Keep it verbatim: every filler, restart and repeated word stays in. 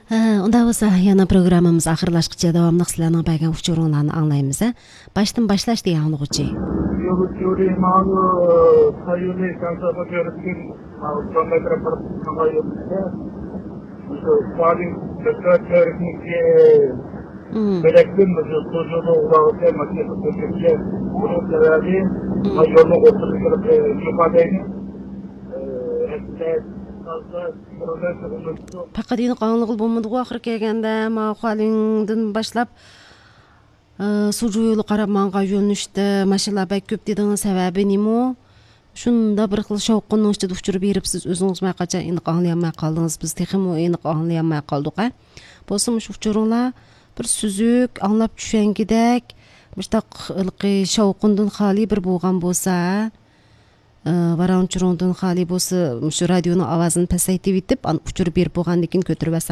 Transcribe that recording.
ھە، ئۇنداق بولسا، يەنە پروگراممىمىز ئاخىرلاشقىچە داۋاملىق سىلەرنىڭ بەرگەن ئۇچۇرۇڭلارنى ئاڭلايمىز، ھە. باشتىن باشلاش دېگەن ئاڭلىغۇچى. يولۇچۇرى ماڭۇ سايونى كانساپا كۆرۈپ كېلىپ، ماڭۇ ساڭا كىرىپ بېرىپ، ساڭا يولۇچى. مۇشۇ سالىڭ كۆرۈكنىكى مم. بۆلەكتىن مۇشۇ توجۇنى ئۇلاغىچە ماشىنا قوشۇپچە. بۇنىڭ سەۋەبى، مم. ما يولنىڭ ئوتتۇرىسىغا كىرىپ، ئە، يوقالايلى. ئە، رەھمەت. پەقەت ئېنىق ئاڭلىغىلى بولمىدىغۇ ئاخىرى كەلگەندە، ما خۇالىڭدىن باشلاپ، ئە، سۇجۇ يولىغا قاراپ ماڭغان يۆنىلىشتە ماشىنىلار بەك كۆپ دېدىڭىز، سەۋەبى نېمە؟ شۇنداق بىر خىل شاۋقۇننىڭ ئىچىدە ئۇچۇر بېرىپ، سىز ئۆزىڭىزمۇ ھەرقاچان ئېنىق ئاڭلىيالماي قالدىڭىز، بىز تېخىمۇ ئېنىق ئاڭلىيالماي قالدۇق، ھە. بولسا مۇشۇ ئۇچۇرۇڭلار بىر سۈزۈك، ئاڭلاپ چۈشەنگۈدەك، مۇشۇنداق ھېلىقى شاۋقۇندىن خالىي بىر بولغان بولسا، ھە. ئى، ۋاراڭ-چۇرۇڭدىن خالىي بولسا، مۇشۇ رادىيونىڭ ئاۋازىنى پەسەيتىۋېتىپ، ئان-، ئۇچۇر بېرىپ بولغاندىن كېيىن كۆتۈرۈۋەتسەڭ